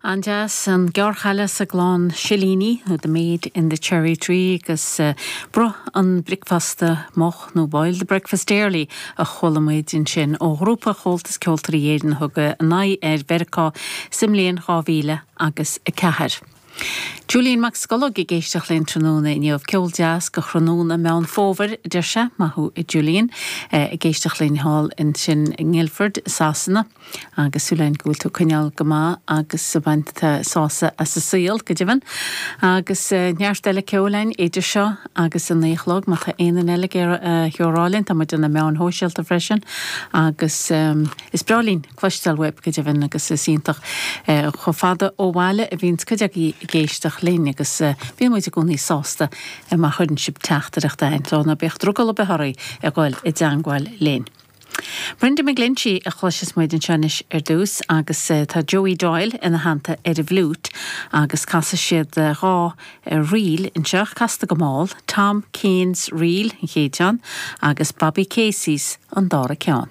An-deas, an Gearrchaile sa gClann Silíní, nó The Maid in the Cherry Tree, agus Bruith an Bricfeasta Moch, nó Boil the Breakfast Early, a chuala muid ansin ó ghrúpa Chomhaltas Ceoltóirí Éireann a thug a n-aghaidh ar Mheiriceá sa mbliain 2000 agus 4. Julian Mac Scológ ag éisteacht linn tráthnóna inniu. Ceol deas go thráthnóna Meán Fómhair, a deir sé. Maith thú a Julian. Ag éisteacht linn thall ansin i nGuildford, Sasana. Agus súil againn go bhfuil tú ag coinneáil go maith agus ag baint sásamh as an saol, go deimhin. Agus neart eile ceoil againn idir seo agus a naoi a chlog. Má tá aon duine eile ag iarraidh a threorá linn, tá muid ar na meáin shóisialta freisin. Agus is breá linn cloisteáil uaibh, go deimhin, agus is iontach chomh fada ó bhaile a bhíonns cuid agaibh ag éisteacht linn agus bíonn muid i gcónaí sásta má chuireann sibh teachtaireacht againn. So ná bíodh drogall ar bith oraibh a dhul i dteangmháil linn. Brenda McGlinchey a chloisfeas muid anseo anois ar dtús agus tá Joey Doyle ina theannta ar an bhfliúit agus casfaidh siad 2 ríl anseo, casta go mall, Tom Keane's Reel an chéad cheann agus Bobby Casey's an dara ceann.